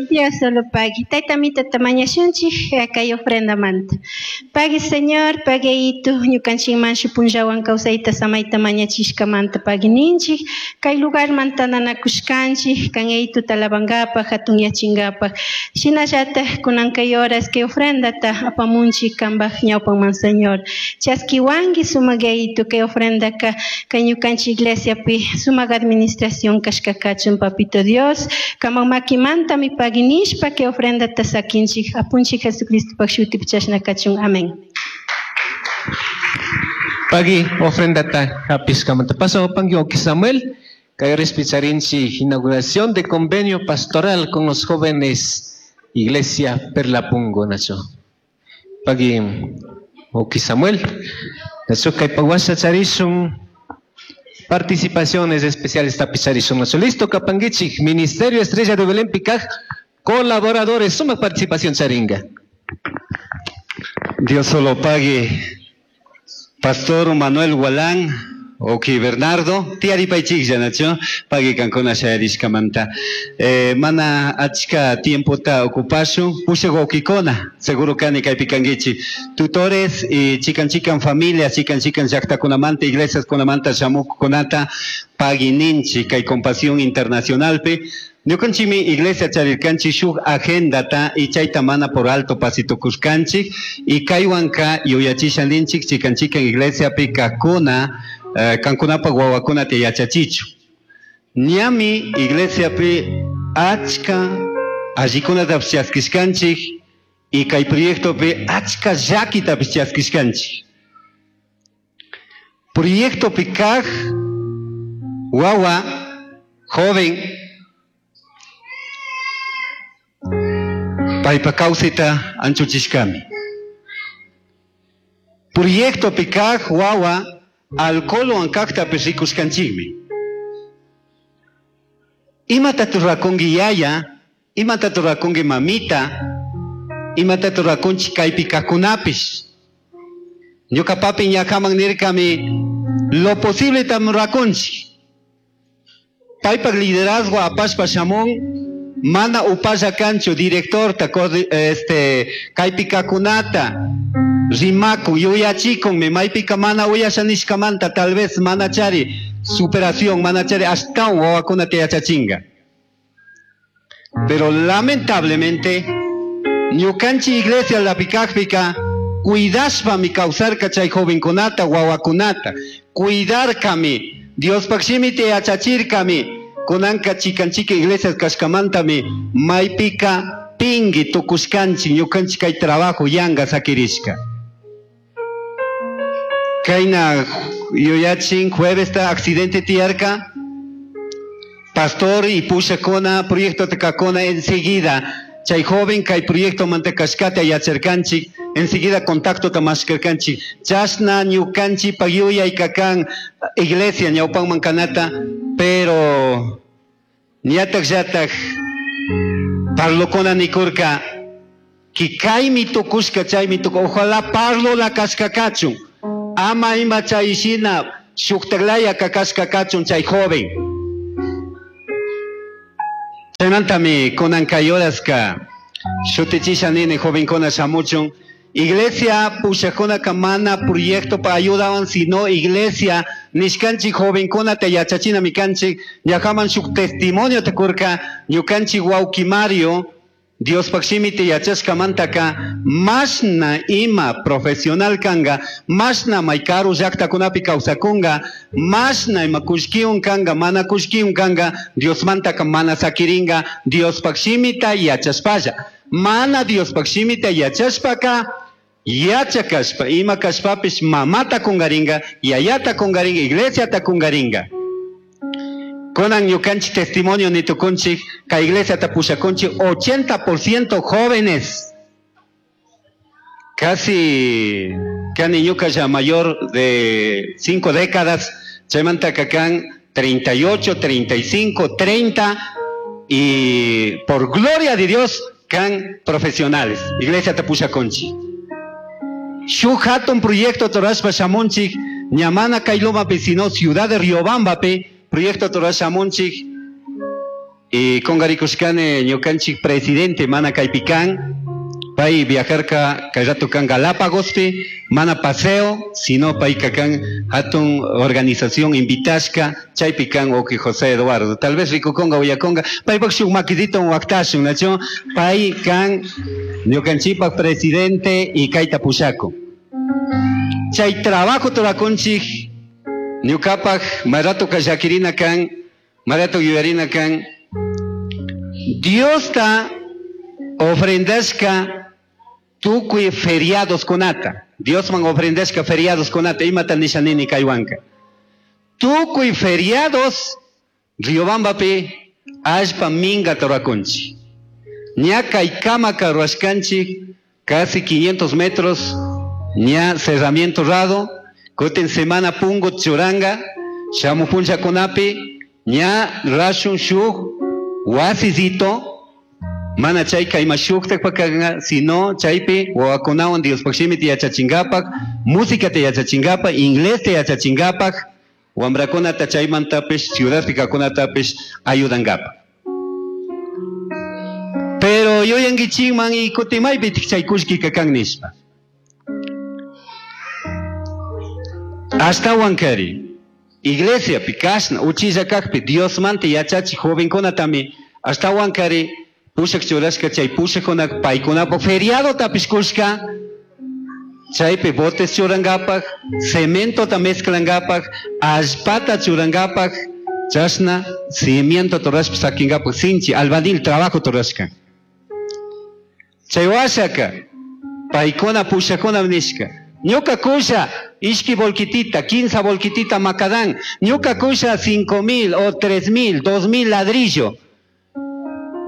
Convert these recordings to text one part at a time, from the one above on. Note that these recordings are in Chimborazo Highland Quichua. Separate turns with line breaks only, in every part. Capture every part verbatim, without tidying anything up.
Dios solo pagui. Tayta mitata mañashunchik kay ofrendamanta. Pagui Señor, pagui itu ñukanchikman punllawan kawsayta samayta mañachishkamanta pagui ninchik. Kay lugarman tananakushkanchik, kan ituta alabankapaj, hatunyachinkapak. Shinallataj kunan kay horas kay ofrendata apamunchik kanpaj ñawpanman Señor. Chaskiwanki sumak Yayitu kay ofrendaka kay ñukanchik iglesiapi sumak administración kashka kachun Papito Dios. Kanpak makimantami pagui nishpa kay ofrendata sakinchik apunchik Jesucristopak shutipi chashna kachun. Amén.
Pagui ofrendata hapishkamanta. Paso pangui wawki Samuel. Kay respecharinchi inauguración de convenio pastoral con los jóvenes Iglesia Perlapungo nacho. Pagui wawki Samuel. Nacho kay pawasha charishun participaciones especiales tapicharishun nacho. Listo kapanguichik Ministerio Estrella de Belén Picaj colaboradores suma participación charinga.
Dios solo pague. Pastor Manuel Gualán, wawki Bernardo, tiyaripaychiklla nacho, pagui kankuna shayarishkamanta. Eh, mana achka tiempota ocupashun, pushak wawkikuna, seguro kani kaypi kankichik. Tutores y chikan chikan familia, chikan chikan llaqtakunamanta, iglesiaskunamanta shamuqkunata pagui ninchik kay Compasión Internacionalpi. Ñukanchikmi iglesia charirkanchik shuk agendata y chayta mana por alto pasitukushkanchik y kaywanka yuyachisha ninchik chikan chikan iglesiapi kajkuna eh, kankunapaq wawakunata yachachichu. Ñami iglesiapi achka allikunatapish chaskishkanchik y kay proyectopi achka llakitapish chaskishkanchik. Proyectopi kaj wawa joven paypa kawsayta anchuchishkami. Proyectopi kaj wawa alcoholwan kajtapish rikushkanchikmi. Imata rurakunki yaya, imata rurakunki mamita, imata rurakunchik kaypi kajkunapish. Ñuka papi ñakaman nirkami lo posible tam rurakunchik. Paypak liderazgo apashpa shamun mana upalla kanchu directorta este kaypi kajkunata rimakun yuyachikun maypika mana uyasha nishkamanta tal vez mana chari superación mana chari ashtawan wawakunata yachachinga. Pero lamentablemente ñukanchik iglesia lapikajpika cuidashpami kawsarka chay jovenkunata wawakunata cuidarkami Diospaq shimita yachachirkami kunanka chikan chikan iglesias kashkamantami maypika pingui tukushkanchik ñukanchik kay trabajo yanga sakirishka. Kayna yuyachin jueves ta accidente tiyarka pastor y pushakuna proyecto kakuna enseguida chay joven kay proyecto manta kashkata yacharkanchik enseguida contacto ta mashkarkanchik chashna ñukanchik yuyay kakan iglesia ñawpanman kanata pero ñatak llatak parlokuna nikurka ki kaymi tukushka chaymi tuku ojalá parlola kashka kachun ama ima chay shina shuktaklaya kakashka kachun chay joven. Chaymantami kunan kay horaska shutichisha nini jovenkuna shamuchun iglesia pushakkunaka mana proyecto pa ayudawan sino iglesia nishkanchik jovenkunata yachachinami kanchik ñakaman shuk testimonio kurka ñukanchik wawki Mario Diospaq shimita yachashkamantaka mashna ima profesional kanga mashna may karu llaqtakunapi kawsakunga mashna ima kullkiwan kanga mana kullkiwan kanga Diosmantaka mana sakiringa Diospaq shimita yachashpalla mana Diospaq shimita yachashpaka yachakashpa ima kashpapish mamata kungaringa yayata kungaringa iglesiata kungaringa. Kunan ñukanchik testimonio nitukunchik kay iglesiata pushakunchik ochenta por ciento jóvenes. Casi kani ñuka ya mayor de cinco décadas, chaymanta kakan treinta y ocho, treinta y cinco, treinta y por gloria de Dios kan profesionales. Iglesia tapushakunchik. Shuk hatun proyecto torashpa shamunchik ñamana kay Lomapi sino ciudad de Riobambapi proyecto torashpa shamunchik Y kungarikushkani ñukanchik presidente mana kaypi kan, pay viajarka kay rato kan Galápagospi, mana paseo, sino payka kan hatun organización invitashka, chaypi kan wawqi José Eduardo. Tal vez rikukunga uyakunga, paypak shuk makidito waqtashun, nacho, pay kan ñukanchikpak presidente y kayta pushakun. Chay trabajo turakunchik, ñukapak marato llakirina kan, marato yuyarina kan, Diosta ofrendashka tukuy feriados kunata. Diosman ofrendashka feriados kunata, imata nisha nini kaywanka. Tukuy feriados Riobambapi allpa minga turakunchik. Ña kaykamaka ruwashkanchik casi quinientos metros ña cerramiento rado, kutin semana pungo churanga, shamu punchakunapi, ña rashun shuk wasisito, mana chayka ima shuktakpak kanka, sino chaypi wawakunawan Diospaq shimita yachachinkapak, músicata yachachinkapak, inglesta yachachinkapak, wambrakunata chaymantapish, ciudadpi kaqkunatapish ayudankapak. Pero yuyankichikman y kutin maypitik chay kullkika kan nishpa. Ashtawan kari, iglesiapi kashna uchilla kakpi Diosmanta yachachik jovenkunatami ashtawan kari pushak churashka chay pushakuna paykunapak feriadotapish kushka, chaypi botes churankapak, cementota mezclankapak, allpata churankapak, chashna cimiento rurashpa sakinkapak sinchi albañil trabajo rurashka. Chay washaka paykuna pushakuna nishka, ñuka kusha ishki volquitita, quince volquitita macadán, ñuka kusha cinco mil o tres mil, dos mil ladrillo,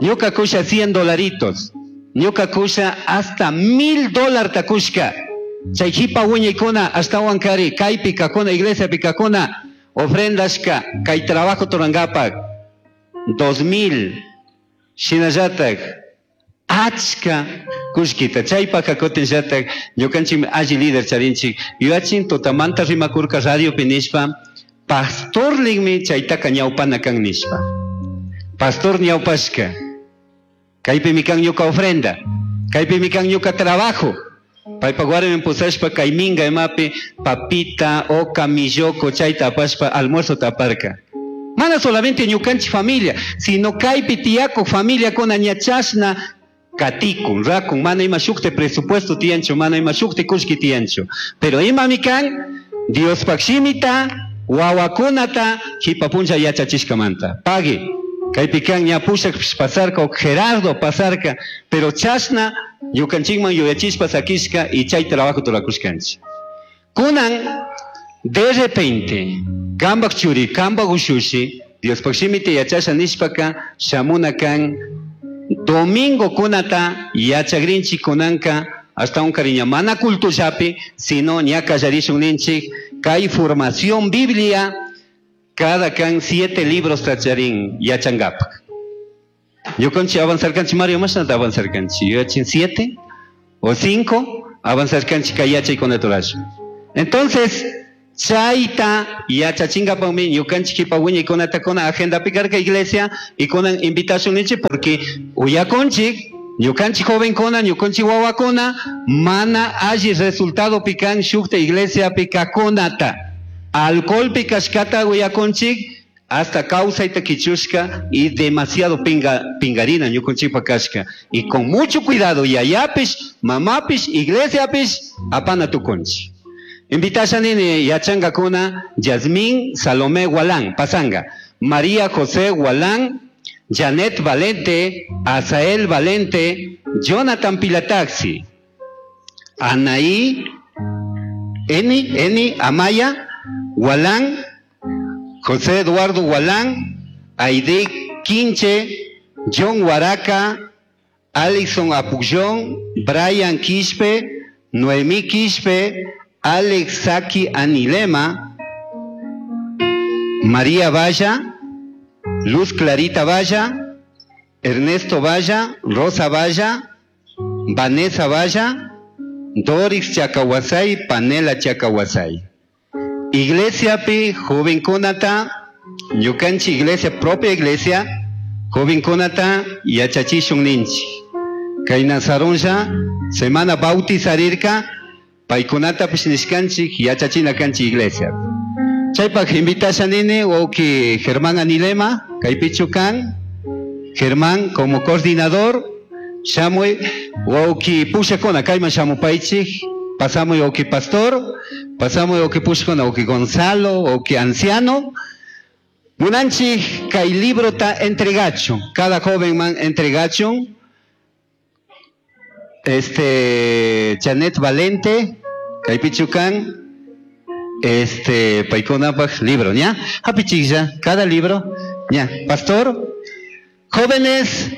ñuka kusha cien dolaritos, ñuka kusha hasta mil dólar takushka. Chay jipa wiñaykuna ashtawan kari kaypi kakuna iglesiapi kakuna ofrendashka kay trabajo turankapak dos mil shinallatak achka kullkita. Chaypaka kutinllatak ñukanchikmi alli líder charinchik. Yuyachin tutamanta rimakurka radiopi nishpa pastorlikmi chaytaka ñawpana kan nishpa. Pastor ñawpashka kaypimi kan ñuka ofrenda, kaypimi kan ñuka trabajo. Paypak warmi pusashpa kay minga imapi papita, oca, milloko chayta apashpa almuerzo taparka. Mana solamente ñukanchik familia, sino kaypi tiyakuk familiakuna ña chashna katikun, rakun, mana ima shukte presupuesto tiyanchu, mana ima shukte kullki tiyanchu. Pero imami kan Diospaq shimita, wawakunata jipa punlla yachachishkamanta. Pagui, kaypi kan ña pushak pasarka, o Gerardo pasarka, pero chashna ñukanchikman yuyachishpa sakishka y chay trabajo turakushkanchik. Kunan, de repente, kambak churi, kambak ushushi, Diospaq shimita yachasha nishpaka, shamuna kan domingo kunata yachagrinchik kunanka hasta un cariño mana cultullapi, sino ña kallarishun ninchik kay formación Biblia cada kan siete libros tacharin yachangapak. Ñukanchik avanzarkanchik Mario, mashnata avanzarkanchik, yachin siete o cinco avanzarkanchik kay yachaykunaturash. Entonces chayta yachachinkapakmi ñukanchik kipa wiñaykunata kuna agendapi karka iglesia y kunan invitación ninchik porque uyakunchik ñukanchik jovenkuna ñukanchik wawakuna mana alli resultado pikan shukta iglesiapi kakunata alcohol pikashkata uyakunchik hasta kawsayta kichushka y demasiado pinga, pingarina ñukanchikpa kashka y con mucho cuidado yayapish mamapish iglesiapish apana tukunchik. Invitasha nini yachangakuna Yasmín Salomé Gualán, Pasanga, María José Gualán, Janet Valente, Azael Valente, Jonathan Pilataxi, Anaí, Eni, Eni, Amaya, Gualán, José Eduardo Gualán, Aide Quinche, John Huaraca, Alison Apullón, Brian Quispe, Noemí Quispe, Alex Saki Anilema, María Valla, Luz Clarita Valla, Ernesto Valla, Rosa Valla, Vanessa Valla, Doris Chacahuasay, Panela Chacahuasay. Iglesia pi, joven kunata, ñukanchi iglesia, propia iglesia, Jovenkunata yachachishun ninchik. Kay Nazarunlla semana bautizarirka paykunatapish nishkanchik yachachina kanchik iglesia. Chaypaq invitasha nini wawqi Germán Anilema, kaypichu kan, Germán como coordinador, shamuy wawqi pushakuna kayman shamupaychik, pasamuy wawqi pastor, pasamuy wawqi pushakuna wawqi Gonzalo, wawqi anciano. Munanchik kay librota entregachun, cada joven man entregachun. Este Janet Valente, kaypichu kan, este paykunapaq libro, ¿ya? Hapichiklla, cada libro, ¿ya? Pastor, jóvenes,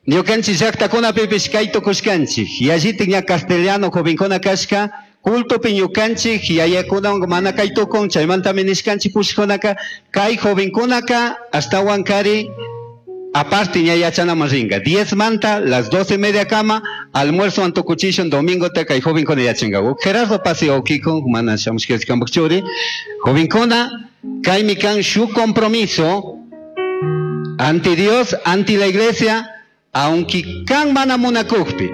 ñukanchik llaqtakunapipish kay tukushkanchik, yallitik ña castellano jovenkuna kashka, cultopi ñukanchik yayakunawan mana kay tukun, chaymantami nishkanchik pushkunaka, kay jovenkunaka ashtawan kari aparte ña yachanaman ringa. Diez manta, las doce media kama, almuerzo antukuchishun, domingo te kay jovenkuna yachanka. Gerardo Paseo Kiko, mana shamushkashkanpak churi, jovenkuna, kaymi kan shu compromiso ante Dios, ante la iglesia, aunque kan mana munakukpi,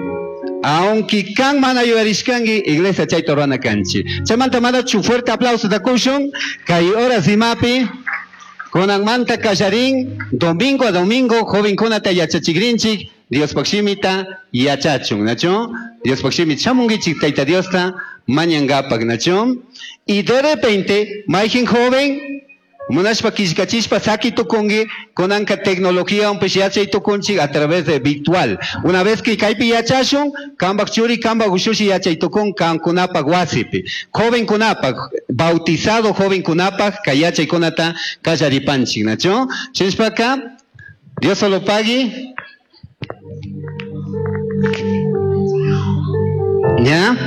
aunque kan mana yuyarishkanki, iglesia chayta rurana kanchik. Chaymanta manachu fuerte aplauso da kushun, kay horas imapi, kunanmanta kallarin, domingo a domingo, jovenkunata yachachikrinchik, Diospaq shimita yachachun, nachu? Diospaq shimita shamunkichik Tayta Diosta mañankapak, nachu? Y de repente, mayqin joven, munashpa killkachishpa saki tukunki, kunanka tecnología unpish yachay tukunchik a través de virtual. Una vez que kaypi yachashun, kanpak churi, kanpak ushushi yachay tukun kankunapak wasipi. Jovenkunapak, bautizado jovenkunapak, kay yachaykunata kallaripanchik, nachu? Shinashpaka, Dios solo pagui. ¿Ya?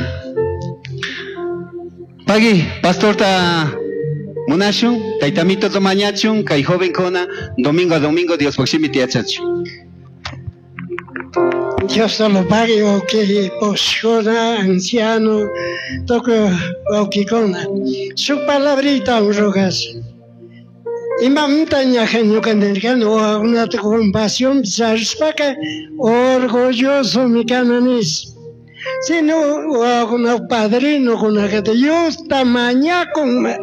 Pagui, pastorta munashun, taytamito mañachun, kay jovenkuna, domingo a domingo, Dios shimita yachachun.
Dios solo pague, wawqi pushkuna, anciano, tukuy wawqikuna. Shuk palabrita rugas. Imamanta ñaja ñuka nirkani, wawakunata compasión charishpaka orgulloso mi kana nish. Sino wawakuna padrino kunaka Diosta mañakun.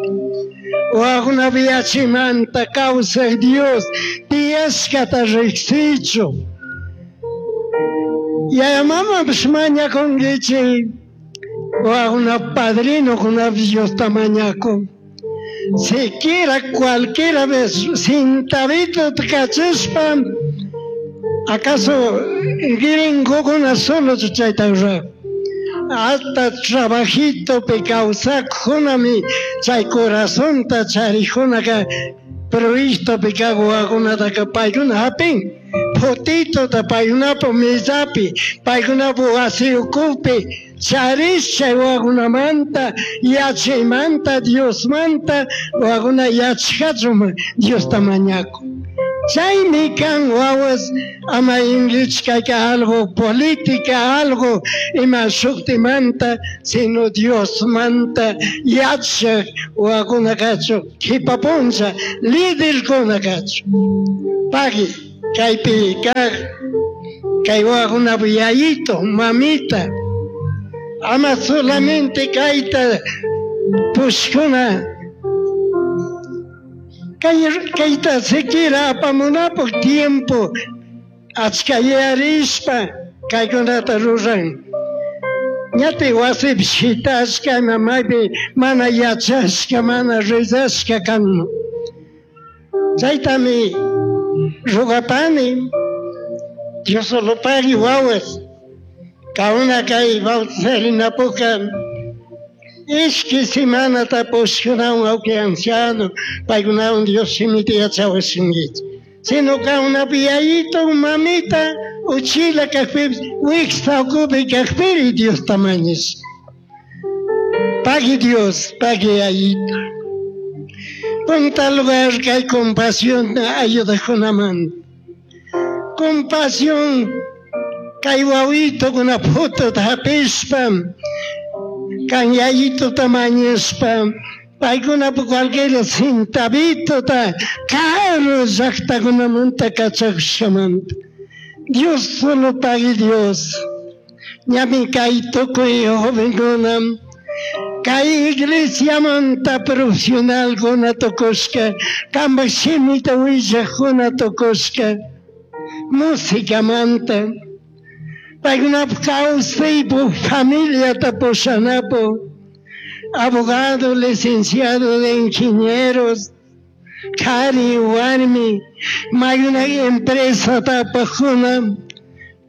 Wawakuna yachimanta kawsaq Dios tiyashkata riqsichu. Yaya mamapish mañakunkichik, wawakuna padrino kunapish Diosta mañakun. Siquiera cualquiera vez cintabito kachishpa, acaso gringokuna solo chayta ruran. Hasta trabajito pi kawsakkunami chay corazonta charikkunaka proyectopi kaq wawakunataka paykuna hapin. Fotitota paykunapak mesapi, paykunapak wasi ukupi charish chay wawakunamanta, yachaymanta, Diosmanta, wawakuna yachachun Diosta mañakun. Chaymi kan wawas ama inglichkayka algo política, algo ima shuktimanta, sino Diosmanta yachaq wawakuna kachun, qhipa puncha liderkuna kachun. Pagui, kaypi kaq kay wawakunapak yayito, mamita, ama solamente kayta pushkuna, kay kayta siquiera apamunapaq tiempo achka yuyarishpa kaykunata ruran. Ñati wasipi shitashka, ima maypi mana yachashka, mana rezashka kanman. Chaytami rugapani, Dios solo pagui wawas, kauna kay bautizarinapuka ishki semanata pushkunawan wawqi anciano, paykunawan Dios shimita yachawashinkichik. Sino kawnapi yayito, mamita, uchila kaqpipis, wiksa ukupi kaqpiri Diosta mañash. Pagui Dios, pagui yayito. Punta lugar kay compasión ayudakunaman. Compasión kay wawito kuna phutota hapishpa, kan yayitota mañashpa, Paykunapa cualquier centavitota karu llaqtakunamanta kachakushamanta. Dios solo pagui Dios. Ñami kay tukuy jovenkuna kay iglesiamanta profesionalkuna tukushka, kanpak shimita willakuna tukushka, musicamanta. Paykunapa kawsaypuk familiata pushanapuk, abogado, licenciado de ingenieros, kari warmi, maykuna empresa tapakuna,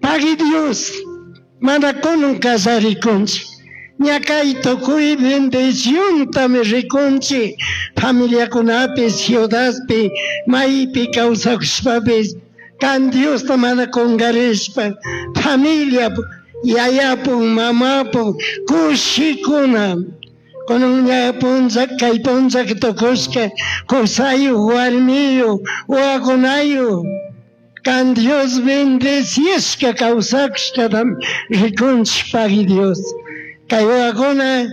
pagui Dios, mana kunan kallarikunchik. Ña kay tukuy bendiciontami rikunchik familiakunapi, ciudadpi, maypi kawsakushpapis, kan Diosta mana kunkarishpa, familia yayapuk, mamapuk, kushikuna. Kunan ña punlla kay punlla tukushka, kusayuk, warmiyuk, wawakunayuk, kan Dios bendecishka kawsakushkatami rikunchik pagui Dios. Kay wawakuna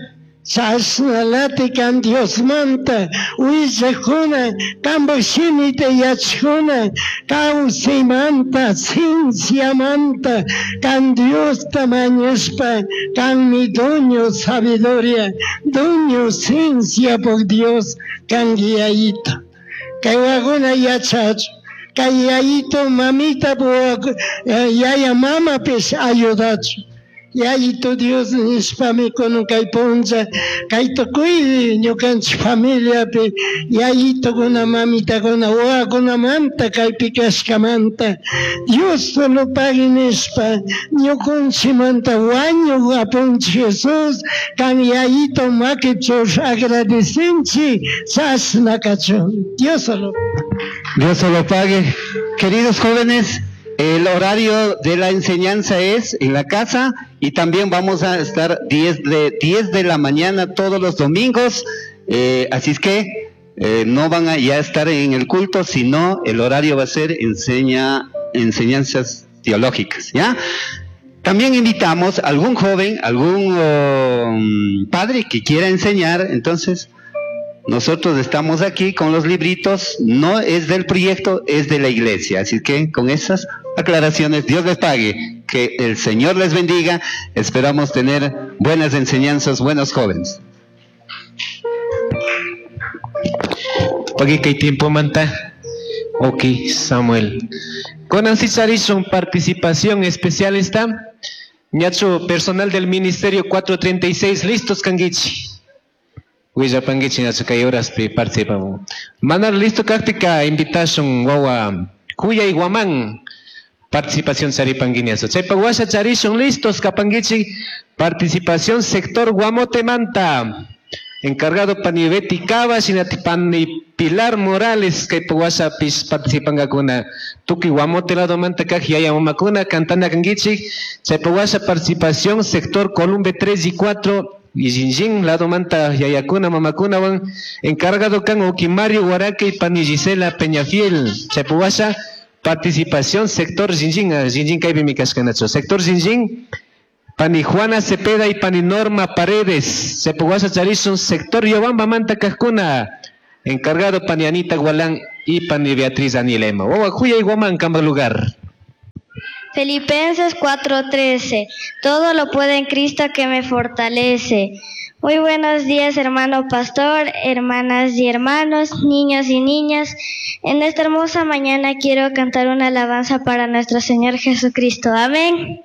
chashnalati kan Diosmanta willakuna, kanpak shimita yachakuna, kawsaymanta, cienciamanta, kan Diosta mañashpa, kanmi dueño sabiduría, dueño ciencia por Dios, kanki yayito. Kay wawakuna yachachun, kay yayito mamita yaya mamapish ayudachun. Yayito Dios nishpami kunan kay punlla, kay tukuy ñukanchik familiapi yayitokuna, mamitakuna, wawakunamanta kaypi kashkamanta Dios solo pagui nishpa ñukanchikmanta wañuk Apunchik Jesús kan yayito makichu agradecinchik chashna kachun. Dios solo.
Dios solo pague. Queridos jóvenes, el horario de la enseñanza es en la casa y también vamos a estar diez de, diez de la mañana todos los domingos. Eh, así es que, eh, no van a ya estar en el culto, sino el horario va a ser enseña, enseñanzas teológicas, ¿ya? También invitamos a algún joven, algún, um, padre que quiera enseñar, entonces nosotros estamos aquí con los libritos, no es del proyecto, es de la iglesia. Así que con esas aclaraciones, Dios les pague, que el Señor les bendiga. Esperamos tener buenas enseñanzas, buenos jóvenes.
Pagui kay tiempo manta. Ok, Samuel. Con Nancy Charison, participación especial está. Ñacho, personal del Ministerio cuatro treinta y seis, listos, Kangichi. Huillapanguichi, ñacho, kay horaspi participamos. Manar listo, kakpika, invitación, wawa, Cuya y Guamán. Participación charipanguiñazo. Chaypa washa charishun listos, kapanguichi. Participación sector Guamote Manta. Encargado pani Betty Cava, shinati pani Pilar Morales, kay washa pis participangakuna. Tuki Guamote lado manta kaj yaya mamakuna, cantana kanguichi. Chaypa washa participación sector Columbe tres y cuatro. Y Jinjin, lado manta yayakuna, mamakuna, wan, encargado kan Okimario Guaraque y pani Gisela Peñafiel. Chaypa washa participación sector Jinjin, ah, Jinjin kaypi mi kashkanacho. Sector Jinjin, pani Juana Cepeda y pani Norma Paredes. Chaypa washa charishun sector Yobamba manta kajkuna. Encargado pani Anita Gualán y pani Beatriz Danielema. Wawa, Juya y Guamán, cambio lugar.
Filipenses cuatro trece. Todo lo puedo en Cristo que me fortalece. Muy buenos días, hermano pastor, hermanas y hermanos, niños y niñas. En esta hermosa mañana quiero cantar una alabanza para nuestro Señor Jesucristo. Amén.